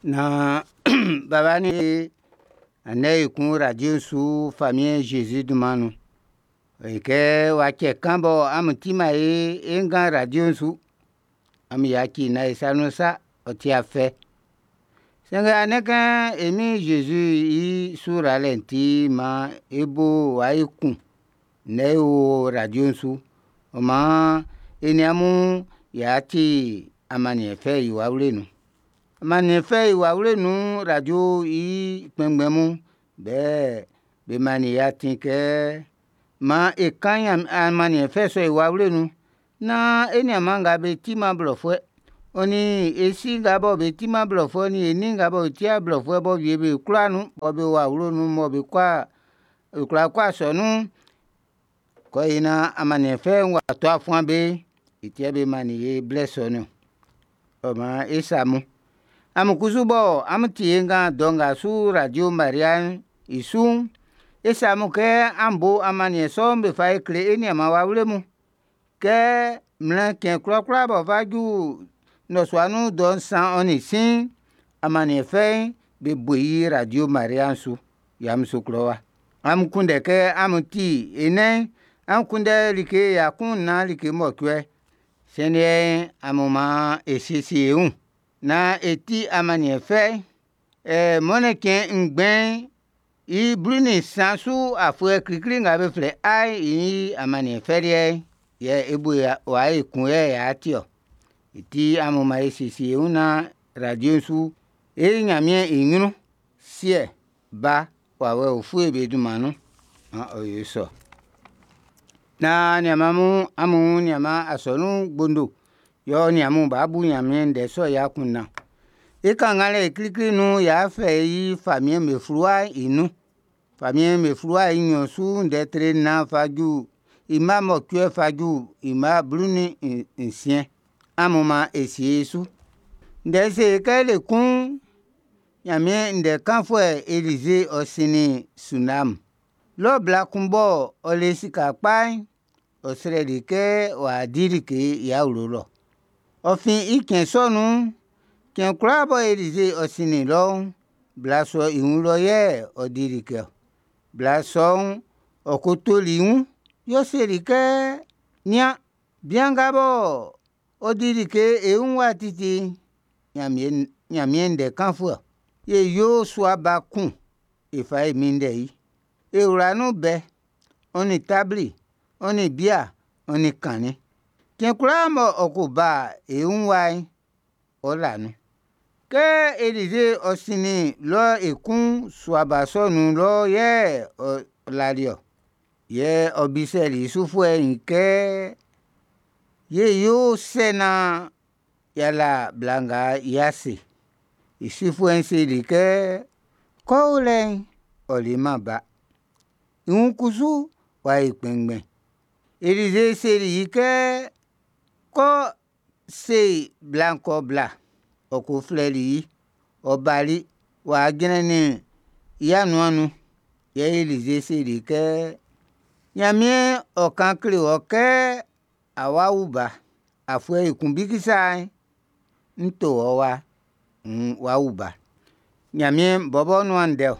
Naan baba nin andɛ ekun radio'n su Famiɛn Zezi dunman nun. Ɔ yi kɛ w'a cɛ kan bɔ amun timan e ngan radio'n su. Amun yaci nán e sa nun sa, ɔ ti afɛ. Sanngɛ andɛ kɛ e Min Zezi i su ralɛ'n ti maan e bo w'a yo kun ndɛ o radio'n su. Ɔ maan e nin amun y'a ti amanniɛn fɛ i wawle nun. Amanniɛn fɛ i wawle nun radio i kpɛnngbɛn mun, be mannin e atin kɛ maan e kan amanniɛn fɛ sɔ'n i wawle nun naan e nianman nga be timan blɔfuɛ'n, ɔ nin e si nga bɔ be timan blɔfuɛ'n, nin e nin nga bɔ be timan blɔfuɛ'n bɔ wie be kwla nun, bɔ be o awlo nun mɔ be kwla kɔ asɔnun'n, kɔ e naan amanniɛn fɛ'n w'a to a fuan be, i ti yɛ be mannin e blɛ sɔ'n niɔn. Ɔ maan e sa mun. Amun kusu bɔ amun tie e ngan dɔ nga su radio Maria'n i su'n, e se amun kɛ an bo amanniɛn sɔ'n be fa e kle e nianman wawle mun. Kɛ mlɛn cɛn kwlakwla b'ɔ fa ju nnɔsua nun dɔ 3:15, amanniɛn fɛ'n be bo i radio Maria'n su Yamoussoukro wa. Amun kunndɛ kɛ amún tí e nɛn'n, an kunndɛ like 14 like 8. Siɛn amun maan e siesie e wun naan e ti amanniɛn fɛ'n. Mɔnnɛn cɛn ngbɛn'n i 13 su afuɛ klikli nga be flɛ i i amanniɛn fɛ liɛ'n, yɛ e bo w'a ekun yɛ y'a ti ɔ. I ti amun maan e siesie e wun naan radio'n su e yi Ɲanmiɛn i ɲrun, Siɛ, Ba, Wawɛ Ufue be dunman nun. Maan ɔ yo sɔ. Naan nianman mun, amun nianman asɔnun gbondo, yɛ ɔ nin amun b'a bu Ɲanmiɛn ndɛ sɔ'n i akunndan. I kannganlɛ klikli nun'n, y'a fɛ i famiɛn'm be fluwa'n i nun. Famiɛn'm be fluwa'n i nɲɔn su ndɛ tre 4 fa ju i mma 8 fa ju i mma 16. Amun maan e sie e su. Ndɛ'n se kɛ le kun'n, Ɲanmiɛn ndɛ kanfuɛ Elize ɔ sinnin Sunam. Lɔ bla kun bɔ ɔ le sika kpa'n, ɔ srɛli i kɛ w'a di like i awlo lɔ. Ɔ fin i cɛn sɔ nun'n, cɛn kwlaa bɔ Elize ɔ sinnin lɔ'n, bla sɔ'n i wun lɔ yɛ ɔ di like ɔ. Bla sɔ'n, ɔ kotoli i wun, yɛ ɔ seli kɛ, “Nian, bian nga bɔ ɔ di like e wun wa titi'n, Ɲanmiɛn ndɛ kanfuɛ. Ye yo sua ba kun e fa e minndɛ i. E wla nun bɛ, ɔ nin tabli, ɔ nin bia, ɔ nin kannin. Cɛn kwlaa ng'ɔ ko ba e wun wa'n, ɔ la nun.” Kɛ Elize ɔ sinnin lɔ ekun'n, sua ba sɔ'n nun lɔ yɛ ɔ lali ɔ. Yɛ ɔ bisɛli i sufuɛ'n kɛ: “Ye yo sɛ naan y'a la bla nga i ase?” I sufuɛ'n seli kɛ: “Kɛ ɔ o lɛ'n, ɔ leman ba. I wun'n kusu w'a yo kpɛnngbɛn.” Elize seli i kɛ: “Kɔ se bla'n kɛ ɔ bla.” Ɔ ko flɛli i. Ɔ bali wa jrannin i anuan'n nun. Yɛ Elize seli kɛ: “Ɲanmiɛn ɔ kan kle wɔ kɛ á wá wú ba. Afuɛ ekun bikisa'n, ń tó wɔ wa, nn w'a wu ba.” Ɲanmiɛn bɔbɔ nuan ndɛ ɔ.